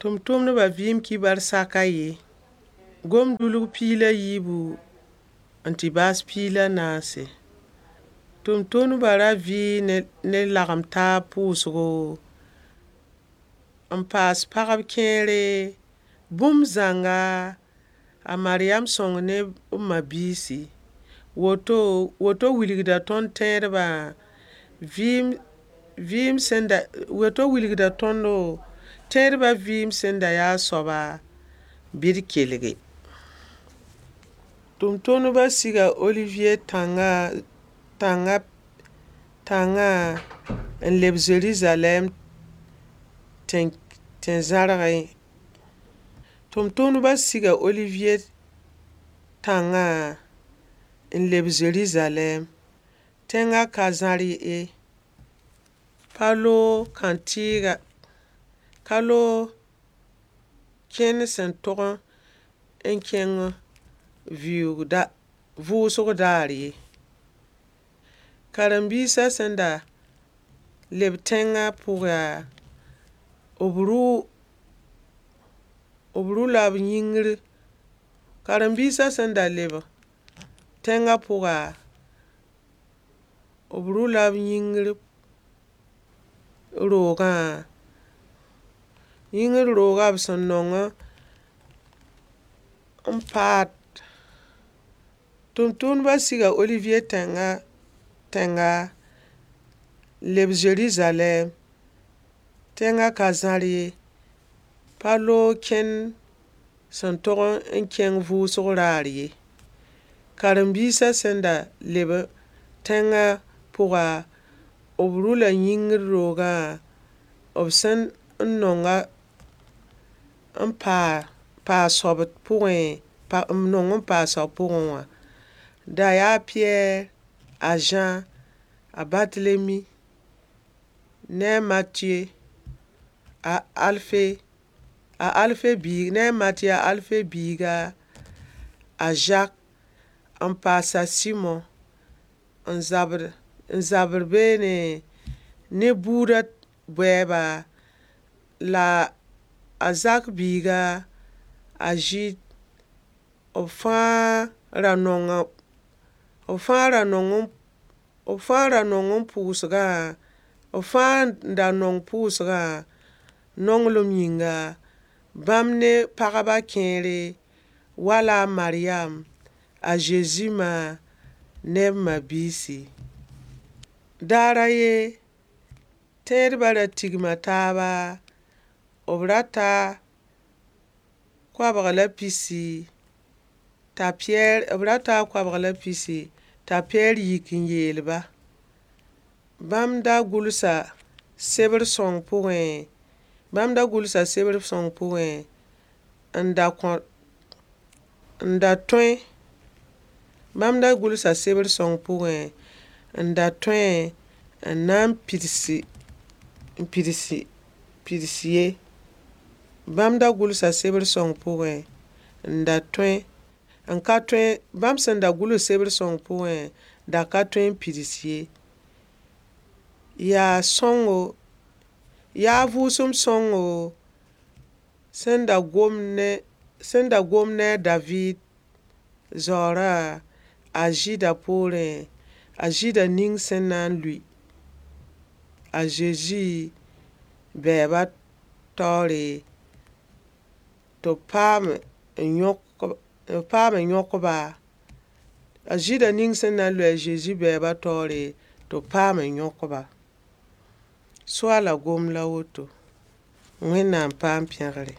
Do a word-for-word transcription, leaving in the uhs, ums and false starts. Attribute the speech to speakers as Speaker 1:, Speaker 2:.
Speaker 1: Tʋmtʋmdbã vɩɩm kibar saka ye. Gom-dulg piig la yiibu n tɩ baas piig la naase. Tʋmtʋmdbã ra vɩ ne lagem taab pʋʋsgo n paas pagb kẽere bũmb zãnga a Maryam sõng ne b ma-biisi. Woto woto wilgda tõnd tẽedbã vɩɩm vɩɩm sẽn da woto wilgda tõndo tẽedbã vɩɩm sẽn da yaa a soaba bɩ d kelge. Tʋmtʋmdbã siga Oliviye tãngã tãngã tãngã n leb Zerizalɛɛm tẽn-zãrgẽ. Tʋmtʋmdbã siga Oliviye tãngã n leb Zerizalɛɛm. Tẽngã ka zãr ye. Pa loog kãntɩɩga ka loog kẽnd sẽn tog n kẽng vɩʋʋg da vʋʋsg daar ye. Karen-biisã sẽn da leb tẽngã pʋga, b rʋ b rʋ-la b yĩngr karen-biisã sẽn da leb tẽngã pʋga, b rʋ-la b yĩngr roogã yĩngr roogã b sẽn nong n paad tʋmtʋmdbã siga Oliviye tẽngã tẽnga leb Zerizalɛɛm tẽngã ka zãr ye. Pa loog kẽnd sẽn tog n kẽng vʋʋsg raar ye. Karen-biisã sẽn da leb tẽngã pʋga, b rʋ-la yĩngr roogã b sẽn n nonga n paa paa soab pʋgẽ n nong n paa soab pʋgẽ wã. Da yaa a Piyɛr, a Zã, a Batelemi ne a Matiye, a Alfe, a Alfe biig ne a Matiye a Alfe biiga, a Zak n paas a Sɩmo n zabd n zabr beene ne buudã bɛɛba la a Zak biiga a Zɩɩd. B fãa ra nonga b fãa ra nong b fãa ra nong n pʋʋsgã b fãa n da nong pʋʋsgã nonglem yĩnga bãmb ne pagbã kẽere wala a Maryam, a Zezi ma ne b ma-biisi. Daar a ye, tẽedbã ra tigma taaba, b ra ta koabg la pisi t'a Piyɛr b ra taa koabg la pisi t'a Piyɛr yik n yeel-ba. Bãmb da gʋlsa sebr sõng pʋgẽ, bãmb da gʋlsa sebr sõng pʋgẽ n da kõ n da tõe bãmb da gʋlsa sebr sõng pʋgẽ n da tõe n na n pidsi n pidsi pids ye. Bãmb da gʋlsa sebr sõng pʋgẽ n da tõe n ka tõe bãmb sẽn da gʋls sebr sõng pʋgẽ da ka tõe n pids ye. Yaa sõngo yaa vʋʋsem sõngo sẽn da gom ne sẽn da gom ne a Daviid zaoorã a Zɩɩda poorẽ, a Zɩɩda ning sẽn na n lʋɩ a Zezi bɛɛba taoore tɩ b paam n yõk b paam n yõk-ba a Zɩɩda ning sẽn na n lʋɩ a Zezi bɛɛba taoore tɩ b paam n yõk-ba. Soaala gom la woto. Wẽnnaam paam pẽgre.